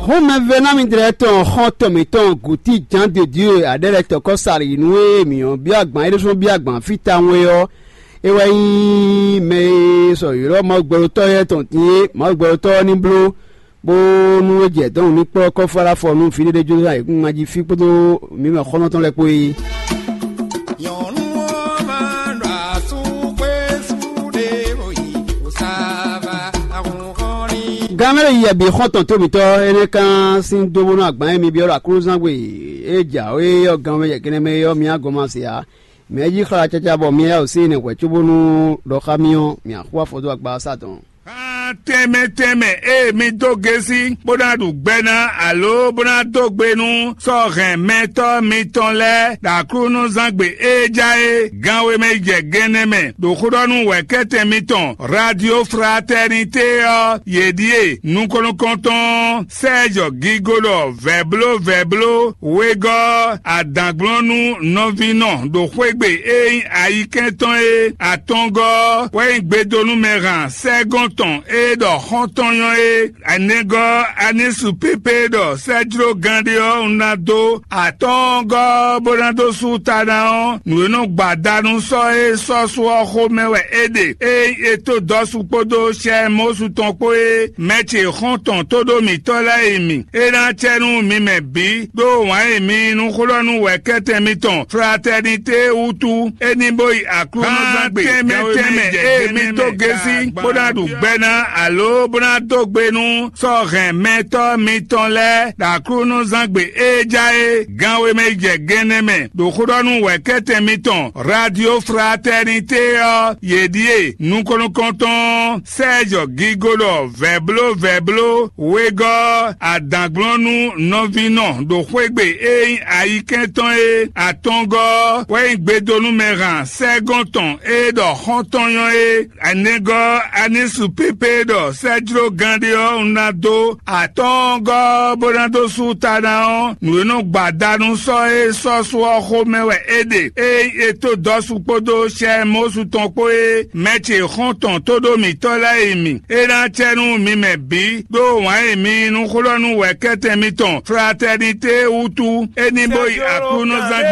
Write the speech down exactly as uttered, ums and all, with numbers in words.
Hɔn mɛvɛ́námídrɛ́ tɔn xɔ́ntɔn mǐtɔn Guti Jǎn Dodiyo e aɖɛ́lɛtɔ́kɔ́ Salinu e mǐ ɔ́ byɔ́ agban é ɖésú byɔ́ agban fí tawun é ɔ́, é wɛ nyí mɛ e sɔ ylɔ́ Mawu gbɛɖotɔ́ lɛ́ɛ tɔn din é. Mawu gbɛɖotɔ́ ɔ́ ní bló bónú é jɛ dɔ̌n ní kplɔ́ kɔ́fú aláfɔ nú vǐɖéɖé Jozɛ́fu ayǐkúngban jí fí kpódó mǐ mɛ xɔ́ntɔn lɛ́ɛ kpó é. Nyɔ̌nu ɔ́ ma ɖo asú xwésú ɖé bó yi wǔsáva ahunhɔ́nlin. Gan mɛ ɖo yiyɛ bǐ xɔ́ntɔn tó mǐtɔn énɛ́ kan sín dó bónú agban e mi byɔ́ ɖo aklúnɔzán gbe e jǎwe ɔ́ gan mɛ yɛ gɛnɛ mɛ é ɔ́, mi á gɔn ma se ǎ. Mɛ e jí xlá caca bɔ mi yá wǒ sí nɛ́ hwɛ̌ cóbónú ɖɔ xá mì ɔ́, mǐ axú afɔ dó agba ɔ́ sá dɔ̌n. Tɛnmɛ tɛnmɛ e mi dó gésí bó ná ɖu gbɛ ná alo bó ná dó gbe nú sɔ́ hɛn mɛtɔ́ mitɔn lɛ́ɛ ɖo aklúnɔzángbe e ja é gan wemɛ yi jɛ gɛnɛ mɛ ɖo xó ɖɔ nú wɛ̌kɛ́tɛn mitɔn Radio Fraternité ɔ́, yě ɖíe nukɔn-nukɔntɔn Sɛ́ɛzɔ Gigolɔ vɛ̌bló vɛ̌bló wegɔ́ adǎnglɔ́nú nɔvínɔ ɖo xwé gbe e nyí ayikɛ́n tɔn e atɔngɔ́ ɔ́ wɛ nyí gbedonúmɛhan sɛ́gɔ́n tɔn e ɖɔ xɔ́ntɔn nyɔ́ é. Anɛgɔ́ Anísu pépé ɖɔ sɛ́jlógán ɖé ɔ́ un ná dó atɔngɔ́ ɔ́ bó ná dó sú ta ná ɔ́, nǔ e nɔ gba da nú sɔ́ e sɔ́ sú ɔ́ xomɛ wɛ é ɖe. Ényí è tó Dɔsu kpódó Sɛmɔsu tɔn kpó é, mɛ ce xɔ́ntɔn tóɖó mǐtɔn lɛ́ɛ e mi. É ná acɛ nú mi mɛ bǐ ɖó wǎn e mi yí nú xó ɖɔ nú wɛ̌kɛ́tɛn mitɔn Fratɛnité wútu. É ní bó yi aklúnɔzángbe tɛnmɛ tɛnmɛ e mi dó gésí bó ná ɖu gbɛ ná alo bó ná dó gbe nú sɔ́ hɛn mɛtɔ́ mitɔn lɛ́ɛ ɖo aklúnɔzángbe e ja é gan wemɛ yi jɛ gɛnɛ mɛ ɖo xó ɖɔ nú wɛ̌kɛ́tɛn mitɔn Radio Fraternité ɔ́, yě ɖíe nukɔn-nukɔntɔn Sɛ́ɛzɔ Gigolɔ vɛ̌bló vɛ̌bló wegɔ́ adǎnglɔ́nú nɔvínɔ ɖo xwé gbe e nyí ayikɛ́n tɔn e atɔngɔ́ ɔ́ wɛ nyí gbedonúmɛhan sɛ́gɔ́n tɔn e ɖɔ xɔ́ntɔn nyɔ́ é. Anɛgɔ́ Anísu pépé ɖɔ sɛ́jlógán ɖé ɔ́ un ná dó atɔngɔ́ ɔ́ bó ná dó sú ta ná ɔ́, nǔ e nɔ gba da nú sɔ́ e sɔ́ sú ɔ́ xomɛ wɛ é ɖe. Ényí è tó Dɔsu kpódó Sɛmɔsu tɔn kpó é, mɛ ce xɔ́ntɔn tóɖó mǐtɔn lɛ́ɛ e mi. É ná acɛ nú mi mɛ bǐ ɖó wǎn e mi yí nú xó ɖɔ nú wɛ̌kɛ́tɛn mitɔn Fratɛnité wútu. É ní bó yi aklúnɔzángbe